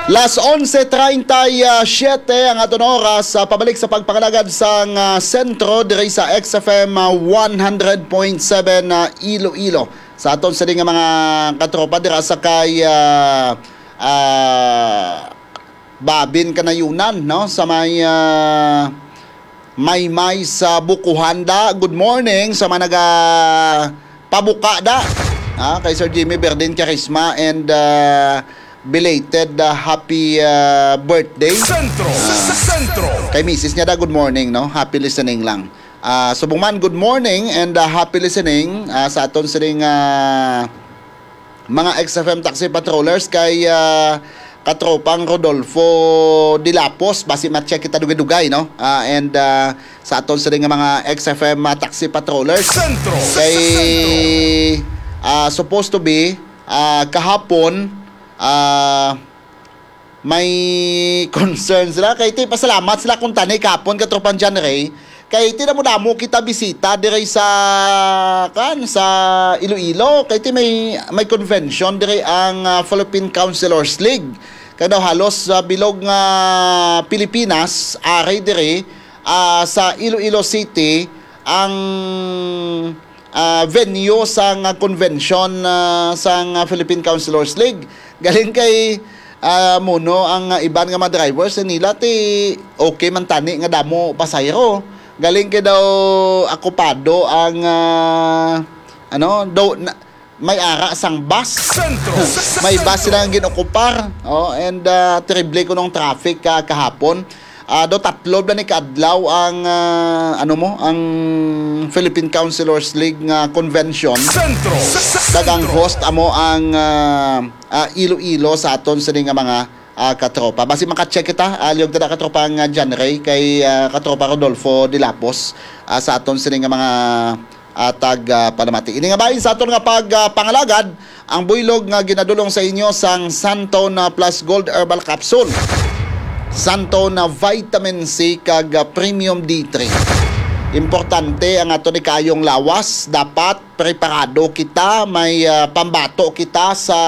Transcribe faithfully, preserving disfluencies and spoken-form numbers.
Las onse treinta y siete ang aton oras, ah, pabalik sa pagpangalagad sang, ah, sentro diri sa X F M, ah, one hundred point seven, ah, Iloilo. Sa aton sini nga mga katropa dira sa kay, ah, ah, Babin Kanayunan, no? Sa may, ah, Maymay sa Bukuhanda. Good morning sa mga naga pabuka da. Ah, kay Sir Jimmy Berdin Charisma and, ah, belated, ah, happy, ah, birthday. Sentro, Ah, Sentro. Kay misis niya da, good morning, no? Happy listening lang. Ah, subong man, good morning and, ah, happy listening, ah, sa aton sining, ah, mga X F M taxi patrollers kay, ah, katropang Rodolfo Dilapos, basi ma-check kita dugay-dugay, no? Ah, and, ah, sa aton sila nga mga X F M, ah, taxi patrollers. Sentro. Kay, ah, supposed to be, ah, kahapon, ah, may concern sila. Kay ti, pasalamat sila kung tani kahapon, katropang John Ray. Kay ti damo-damo kita bisita diri sa, kan, sa Iloilo. Kay ti may, may convention diri ang, ah, Philippine Councilors League. Kay daw halos sa bilog nga Pilipinas, ari diri, ah, sa Iloilo City, ang, ah, venue sang convention, ah, sang Philippine Councilors League. Galing kay, ah, muno ang, ah, iban nga mga drivers nila ti okay man tani nga damo pasahero. Galing kay daw akupado ang, ah, ano, daw na, may ara sang bus. Sentro. May bus sila nga ginokupar. Oh, and, ah, terrible kunong traffic ka kahapon. Ah, do tatlo bala ni kaadlaw ang, ah, ano mo, ang Philippine Councilors League nga convention. Sentro. Kag ang host amo ang, ah, ah, Iloilo sa aton sini nga mga, ah, katropa. Basi maka-check kita, ah, liog ta na katropa nga John Ray kay, ah, katropa Rodolfo Dilapos, ah, sa aton sini nga mga, ah, tag, ah, palamati. Ini nga bahin sa aton nga pag, ah, pangalagad, ang buylog nga ginadulong sa inyo sang Santone Plus Gold Herbal Capsule, Santone Vitamin C kag, ah, Premium D three. Importante ang aton ni kaayong lawas. Dapat preparado kita, may, ah, pambato kita sa